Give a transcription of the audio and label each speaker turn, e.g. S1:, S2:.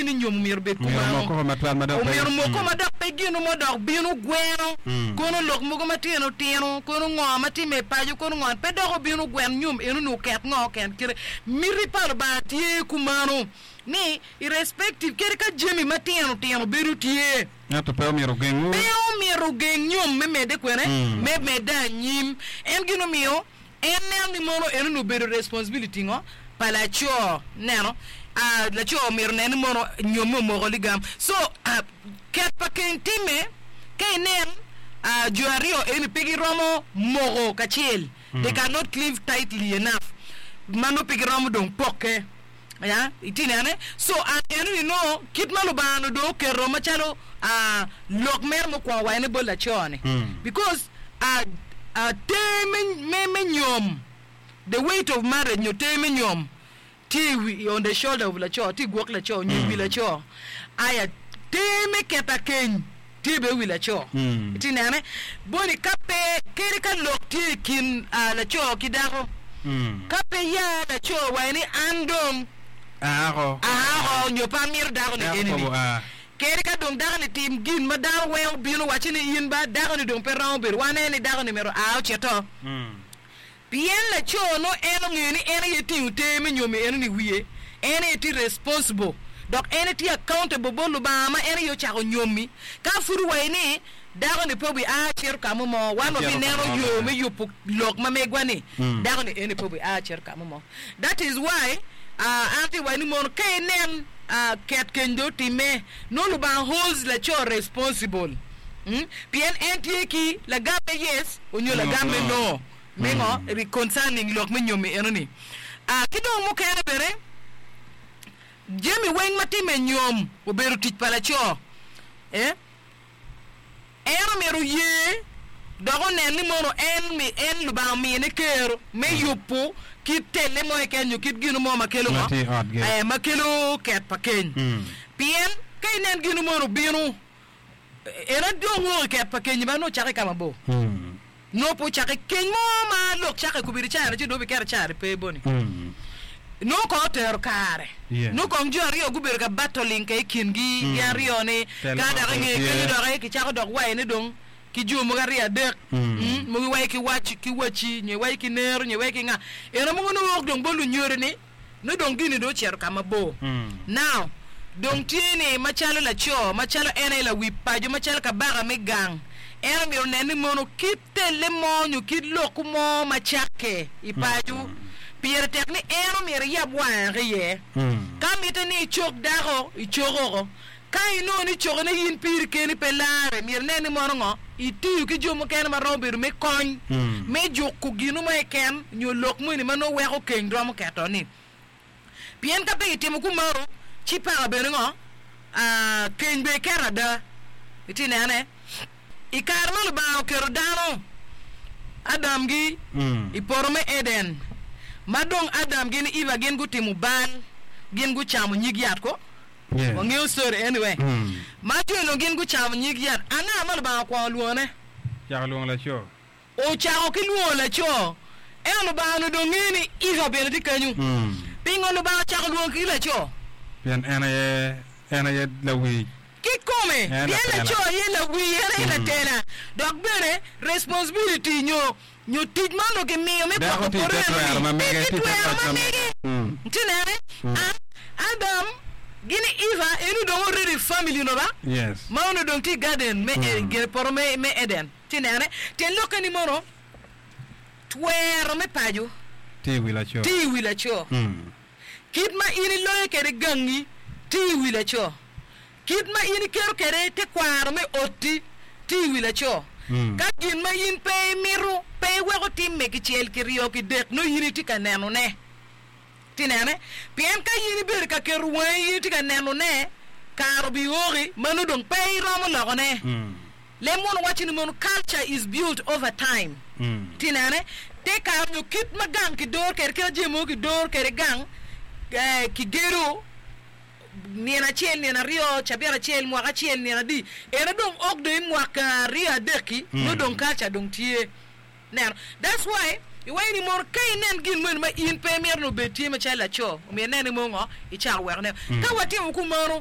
S1: tye ni nyom omyero obed
S2: Omyero
S1: kumano.
S2: omoko matwal ma dok pe.
S1: Omyero omoko ma dok pe gino mo dok bino gweno, kono lok mogo matino tino, kono ngo ma timme i paco, kono ngo pe dok obino gwen nyom enoni oket ngo ken kite. Miti pa Lubanga tye kumano ni irrespective kadi ka jami matino tino bedo tye.
S2: Ento pe omyero ogengwu.
S1: Pe omyero ogeng nyom me medde kwene? Me medde anyim. En gin omiyo en neno ni mono enoni obedo responsibility ngo? Pa laco. Ineno? Ah, laco omyero onen ni mono nyomme omoko ligam. So, ah, ket pa keny timme ka inen ah, jo aryo eni pe giromo moko kacel. They cannot cleave tightly enough ma nongo pe giromo dong pokke. Ya, itye nene? So, an enoni nongo kit ma Lubanga onongo dong oketo macalo ah, lok mere mukwongo wa ene bot laco-ni. Because ah, ah, ter me, me, me nyom, the weight of marriage nyo ter me nyom tye i wi, on the shoulder of laco, tye i gwok laco nyo i wi laco. Aya, ter me keto akeny tye bene i wi laco. Itye nene? Boni ka pe, kadi ka lok tye i kin laco ki dako, ka pe ya laco waci ni an dong
S2: Aako.
S1: aako nyo pe amito dako-ni
S2: Dako
S1: eni-ni.
S2: kobo a.
S1: Kadi ka dong dako-ni tim gin ma dano weng obino wacci ni in ba dako-ni dong pe romo bedo, waneno ni dako-ni myero oa ocito. Pien laco nongo en ongeyo ni en aye tingo ter me nyomi eno ni wiye, en aye tye responsible dok en aye tye accountable bot Lubanga ma en aye ocako nyomi. Ka pud owaci ni dako ni pe obi a cito ka mo mo, wan wabi neno yo me yubo lok ma megwa ni dako ni eni pe obi a cito ka mo mo. That is why an atye waci ni mono ka inen ket keny dong otime nongo Lubanga holds laco responsible pien en tye ki lagam me yes onyo lagam me no. Me ngo? Concerning lok me nyomi eno ni. Ah, ki dong mukene bene, jami weng ma timme i nyom obedo tic pa laco. Eh, en omyero oye dok onen ni mono en mi en Lubanga omine kero me yubo kit telle mo keken nyo kit gino mo ma kelo
S2: Ma
S1: ngo?
S2: tye i otgi.
S1: Eh, ma kelo ket pa keny. Pien ka inen gino mono obino, En aye dong wok i ket pa kenyi ma nongo ocake i ka mabor. Nongo pe ocake i keny mo ma lok cake i kobedi caro ci dong obiketo caro i pe boni. Nongo kong otero kare. Nongo kong jo aryo gubedo ka battling ka i kingi gin aryo ni ka dok i nge kenyo doki kicako dok wayone dong ki jo mogo aryo adek mogo iwaco ki wac ki waci nyo iwaco ki nero nyo iwaco ki nga. Eno mogo nongo wok dong bot lunyodo ni Nongo dong gini dong ocito ka mabor. Now, dong tye ni macalo laco, macalo en aye lawi paco, macalo kabaka me gang, en omyero onen ni mono kit telle mo nyo kit lokku mo ma cakke i paco, pire tek ni en omyero eyab wange iye. Ka mitte ni icok dako, icok oko. Ka inongo ni cokone in piri keni pe larre, myero inen ni mono ngo itiyo ki jo mukene ma romo bedo me kony me juko ginu mo keken nyo lok moni ma nongo weko keny romo keto ni. Pien ka pe kitimo kumeno, ci paka bene ngo keny bene keto ada. Itye nene? I kare ma Lubanga oketo dano, Adam gi, i poto me Eden, ma dong Adam gin Eva gin gutimo bal, gin gucamo nyig yat ko? Wangeyo story anyway. Ma jo onongo gin gucamo nyig yat, anga ma Lubanga okwongo lwongone?
S2: Ocako lwongo laco.
S1: Ocako ki lwongo laco. Ento Lubanga onongo dong ngeyo ni Eva bene tye kenyo. Pingo Lubanga ocako lwongo ki laco?
S2: Pien en aye, en aye lawi.
S1: Kikome,
S2: En
S1: pien
S2: latela.
S1: laco aye lawi, en aye latela. Dok bene responsibility nyo nyo tic ma onongo kimiyo me
S2: Dako
S1: gwoko
S2: tye i
S1: poto
S2: te twero
S1: eno-ni
S2: ma
S1: pe
S2: mege,
S1: ki
S2: tye i te
S1: twero
S2: loc
S1: ma
S2: ma mege.
S1: mege. Itye nene? A Adam gin i Eva eni dong already family onongo ba?
S2: Yes.
S1: Ma onongo dong tye i garden me e, gin poto me, me Eden. Itye nene? Tyen lokke ni mono twero me paco
S2: Tye i wi laco.
S1: tye i wi laco. Kit ma in iloyo kwede gangi tye i wi laco. Kit ma in iketo kwede tekwaro me otti tye i wi laco. Ka gin ma in pe imito pe iweko timme kicel, kiryo, kidek, nongo in itye ka nenone. Itye nene? Pien ka in ibedo ka keto wangi in itye ka nenone, kare obioki ma nongo dong pe iromo lokone. Leb munu waco ni mono culture is built over time. Itye nene? Te kare nyo kit ma gang kidoro kwede, kit ma jami mogo kidoro kwede gang, kigedo, Nino acel, nino aryo, cabit acel, mwaka acel, nino adi. Eno dong ok dong i mwaka aryo adek-ki, nongo dong culture dong tye. Neno. That's why iwaco ni mono ka inen gin moni ma in pe imito ni obed tye macalo laco, omyero inen ni mono ngo, icako weko ne. Ka watimo kumeno.